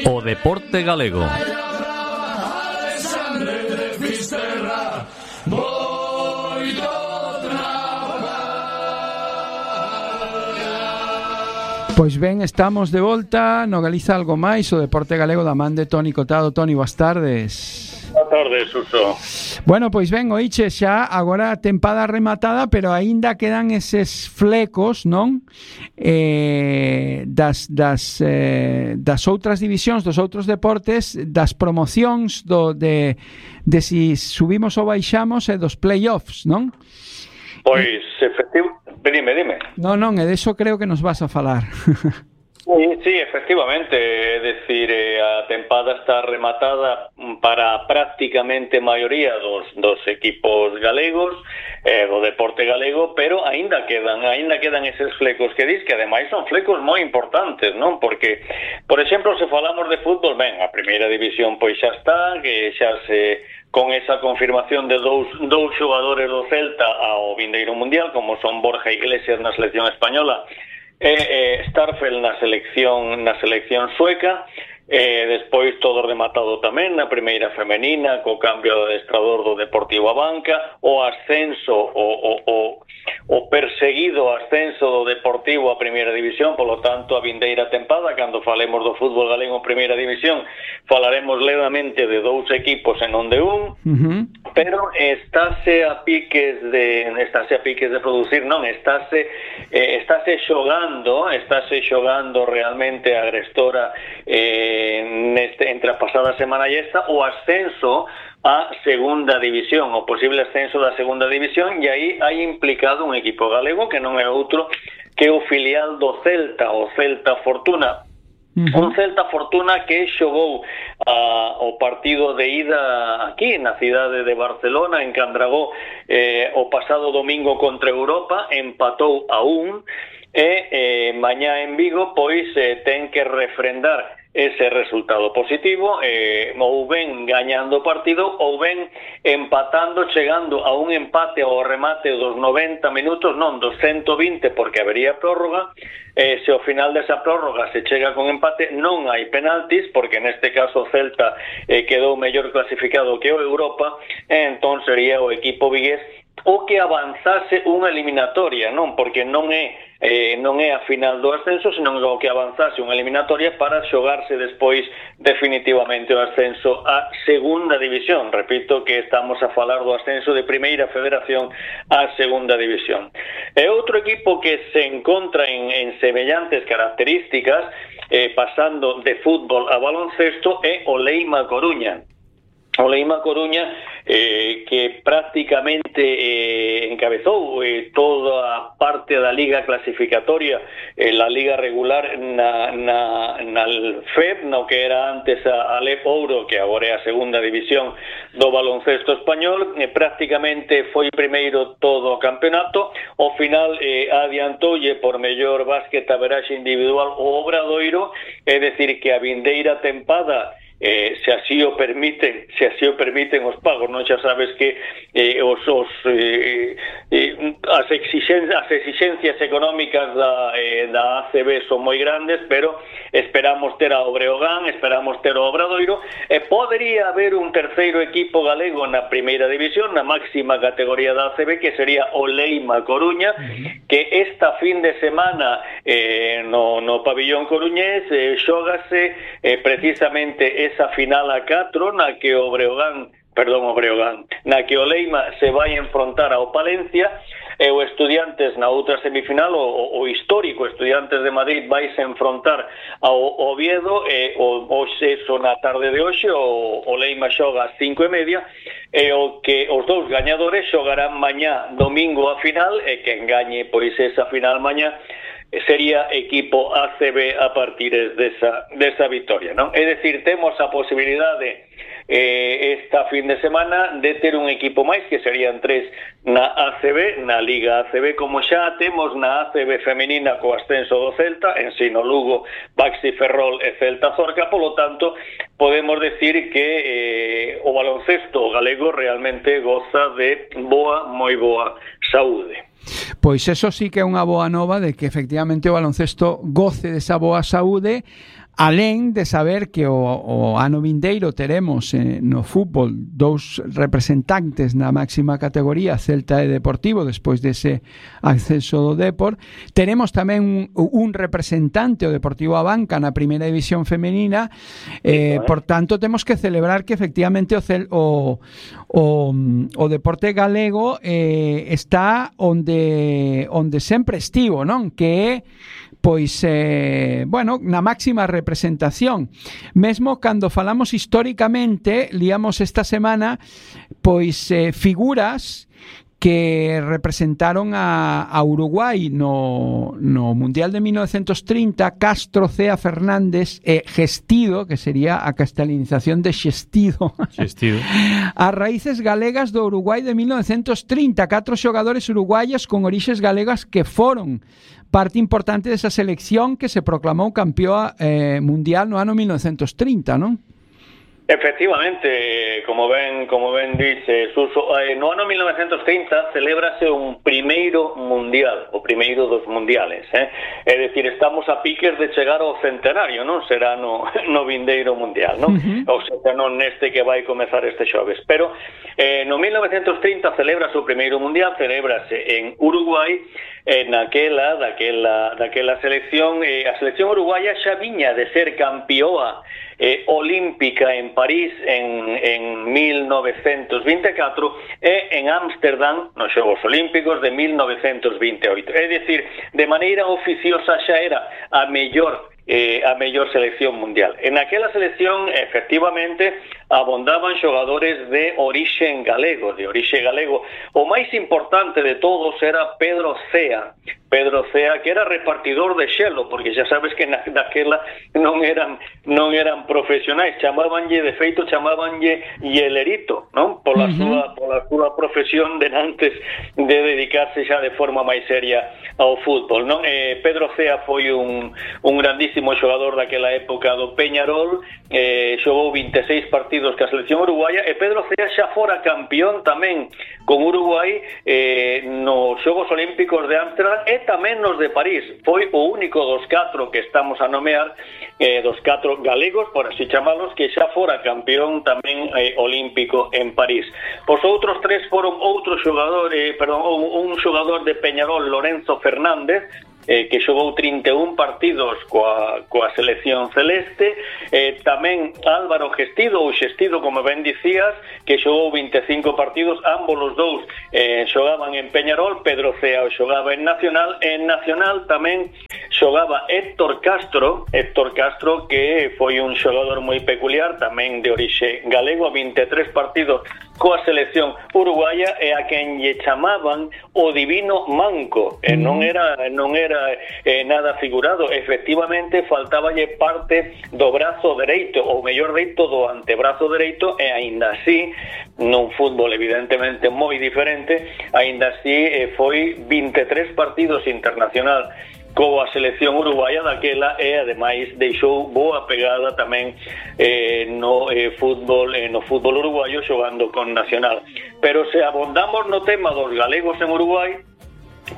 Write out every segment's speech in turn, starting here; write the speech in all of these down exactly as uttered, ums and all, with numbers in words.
O deporte galego. Pois ben, estamos de volta no Galiza Algo Máis, o deporte galego da man de Toni Cotado. Toni, boas tardes. Boas tardes, Suso. Bueno, pois ben, oiche, xa agora a tempada rematada, pero aínda quedan eses flecos, non? Eh, das, das, eh, das outras divisións, dos outros deportes, das promocións do, de, de si subimos ou baixamos e dos playoffs, non? Pois, efectivo... Dime, dime. Non, non, e deso creo que nos vas a falar. Sí, sí, efectivamente, é dicir, a tempada está rematada para prácticamente maioría dos, dos equipos galegos, eh, do deporte galego, pero aínda quedan, aínda quedan eses flecos que dis, que ademais son flecos moi importantes, non? Porque, por exemplo, se falamos de fútbol, ben, a primeira división pois xa está, que xa se... con esa confirmación de dous, dous xogadores do Celta ao vindeiro mundial, como son Borja Iglesias na selección española e eh, Starfelt na selección na selección sueca. Eh, despois todo rematado tamén na primeira femenina, co cambio de adestrador do Deportivo Abanca, o ascenso o, o, o, o perseguido ascenso do Deportivo a primeira división. Polo tanto, a vindeira tempada, cando falemos do fútbol galego en primeira división, falaremos levemente de dous equipos e non de un. Uh-huh. Pero estáse a piques de estáse a piques de producir, non, estáse eh, estáse xogando, estáse xogando realmente a Agrestora eh neste, entre a pasada semana e esta, o ascenso a segunda división, o posible ascenso da segunda división, e aí hai implicado un equipo galego que non é outro que o filial do Celta, o Celta Fortuna. Uh-huh. Un Celta Fortuna que xogou uh, o partido de ida aquí na cidade de Barcelona, en Candragó, eh, o pasado domingo contra Europa, empatou a un, e eh, mañá en Vigo pois eh, ten que refrendar ese resultado positivo, eh, ou ben gañando o partido ou ben empatando, chegando a un empate ao remate dos noventa minutos, non dos ciento vinte, porque habería prórroga. Eh, se ao final desa prórroga se chega con empate, non hai penaltis, porque neste caso o Celta eh, quedou mellor clasificado que o Europa, e entón sería o equipo vigués o que avanzase unha eliminatoria, non? Porque non é eh, non é a final do ascenso, senón o que avanzase unha eliminatoria para xogarse despois definitivamente o ascenso a segunda división. Repito que estamos a falar do ascenso de primeira federación a segunda división. E outro equipo que se encontra en, en semellantes características, eh, pasando de fútbol a baloncesto, é o Leima Coruña. O Leima Coruña, eh, que prácticamente eh, encabezou eh, toda a parte da liga clasificatoria, eh, la liga regular na, na, na F E B, no que era antes a Alep Ouro, que agora é a segunda división do baloncesto español, eh, prácticamente foi primeiro todo o campeonato. Ao final eh, adiantoulle por mellor básquet a veraxe individual o Obradoiro, é decir que a vindeira tempada, Eh, se así o permiten, se así o permiten os pagos, non, xa sabes que eh, os, os eh, eh, as exixencias, as exixencias económicas da, eh, da A C B son moi grandes, pero esperamos ter a Breogán, esperamos ter o Obradoiro, e podería haber un terceiro equipo galego na primeira división, na máxima categoría da A C B, que sería o Leima Coruña, uh-huh. que esta fin de semana eh, no, no pabillón coruñés eh, xógase eh, precisamente esa final a catro na que o Breogán, perdón, o Breogán, na que o Leima se vai enfrontar ao Palencia, e o Estudiantes na outra semifinal, o, o histórico Estudiantes de Madrid vai se enfrontar ao Oviedo, e o, o xeso na tarde de hoxe, o, o Leima xoga ás cinco e media, e o que os dous gañadores xogarán mañá domingo a final, e quen gañe pois esa final mañá sería equipo A C B a partir desa, desa victoria, non? É dicir, temos a posibilidade eh, esta fin de semana de ter un equipo máis, que serían tres na A C B, na Liga A C B, como xa temos na A C B femenina co ascenso do Celta, Ensino Lugo, Baxi Ferrol e Celta Zorca. Polo tanto, podemos decir que eh, o baloncesto galego realmente goza de boa, moi boa saúde. Pois eso sí que é unha boa nova, de que efectivamente o baloncesto goce desa boa saúde, alén de saber que o, o ano vindeiro teremos eh, no fútbol dous representantes na máxima categoría, Celta e Deportivo, despois dese acceso do Depor, teremos tamén un, un representante, o Deportivo Abanca, na primeira división femenina, eh, por tanto temos que celebrar que efectivamente o, cel, o, o, o deporte galego eh, está onde, onde sempre estivo, non? Que é pois, eh, bueno, na máxima representación. Mesmo cando falamos históricamente, líamos esta semana, pois, eh, figuras que representaron a, a Uruguai no, no Mundial de mil novecientos trinta, Castro, Cea, Fernández e Gestido, que sería a castelanización de Xestido, Xestido. As raíces galegas do Uruguai de mil novecientos trinta, catro xogadores uruguaios con orixes galegas que foron parte importante desa selección que se proclamou campeoa eh, mundial no ano mil novecientos trinta, non? Efectivamente, como ben como ben dice Suso, eh, no ano mil novecientos trinta celébrase un primeiro mundial, o primeiro dos mundiales, eh? É dicir, estamos a piques de chegar ao centenario, non? Será no, no vindeiro mundial, non? Uh-huh. Ou seja, non neste que vai comezar este xoves, pero eh, no mil novecientos trinta celébrase o primeiro mundial, celébrase en Uruguai, eh, naquela, daquela, daquela selección, eh, a selección uruguaya xa viña de ser campioa eh, olímpica en París en, en mil novecientos vinte e catro e en Ámsterdam nos Xogos Olímpicos de mil novecientos vinte e oito. É dicir, de maneira oficiosa xa era a mellor Eh, a mellor selección mundial. En aquela selección, efectivamente, abondaban xogadores de orixe galego, de orixe galego. O máis importante de todos era Pedro Cea, Pedro Cea, que era repartidor de xelo, porque xa sabes que na, naquela non eran non eran profesionais, chamábanlle, de feito, chamábanlle hielerito, non? Pola uh-huh. súa pola súa profesión de antes de dedicarse xa de forma máis seria ao fútbol, non? Eh, Pedro Cea foi un, un grandísimo xogador daquela época do Peñarol, eh, xogou vinte e seis partidos ca selección uruguaya, e Pedro Cea xa fora campeón tamén con Uruguai eh, nos Xogos Olímpicos de Ámsterdam e tamén nos de París. Foi o único dos catro que estamos a nomear, eh, dos catro galegos, por así chamalos, que xa fora campeón tamén eh, olímpico en París. Os outros tres foron outro xogador, eh, perdón, un, un xogador de Peñarol, Lorenzo Fernández, eh, que xogou trinta e un partidos coa, coa selección celeste, eh, tamén Álvaro Gestido, ou Xestido, como ben dicías, que xogou vinte e cinco partidos, ambos os dous eh, xogaban en Peñarol, Pedro Cea xogaba en Nacional, e en Nacional tamén xogaba Héctor Castro, Héctor Castro, que foi un xogador moi peculiar, tamén de orixe galego, vinte e tres partidos coa selección uruguaya, e a quen lle chamaban o Divino Manco, e non era non era eh, nada figurado, efectivamente faltáballe parte do brazo dereito, ou mellor deito do antebrazo dereito, e aínda así, nun fútbol evidentemente moi diferente, aínda así eh, foi vinte e tres partidos internacional coa selección uruguaya daquela, e ademais deixou boa pegada tamén eh, no eh, fútbol eh, no fútbol uruguayo xogando con Nacional. Pero se abondamos no tema dos galegos en Uruguai,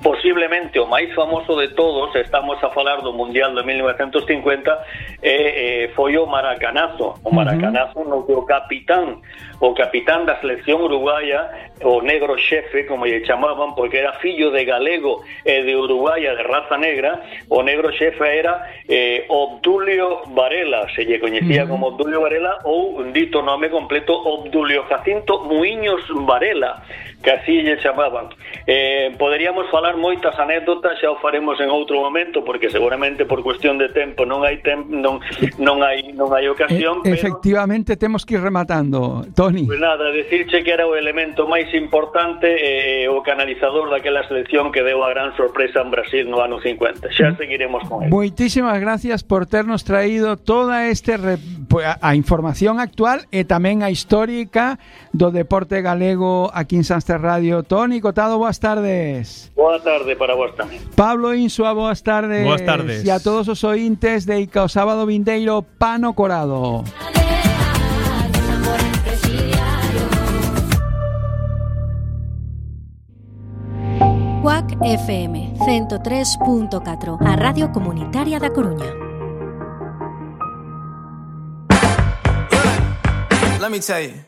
posiblemente o máis famoso de todos, estamos a falar do Mundial de mil novecientos cincuenta, eh, eh, foi o Maracanazo, o Maracanazo uh-huh. no que o capitán o capitán da selección uruguaya, o negro xefe, como lle chamaban, porque era fillo de galego e de uruguaya de raza negra, o negro xefe era eh, Obdulio Varela, se lle coñecía uh-huh. como Obdulio Varela, ou un dito nome completo, Obdulio Jacinto Muiños Varela, que así lle chamaban. Eh, poderíamos falar moitas anécdotas, xa o faremos en outro momento, porque seguramente por cuestión de tempo non hai tempo, non non hai non hai ocasión, e, pero efectivamente temos que ir rematando, Toni. Pues nada, decirche que era o elemento máis importante, eh, o canalizador daquela selección que deu a gran sorpresa en Brasil no ano cincuenta. Xa seguiremos con ele. Moitísimas gracias por ternos traído toda este re, a, a información actual e tamén a histórica do deporte galego aquí en Sanster Radio. Toni Cotado, boas tardes. Boa tarde para vos tamén. Pablo Insua, boas tardes. Boas tardes. E a todos os ointes de Ica o sábado vindeiro Pano Corado. C U A C F M ciento tres punto catro, a Radio Comunitaria da Coruña. let me tell you.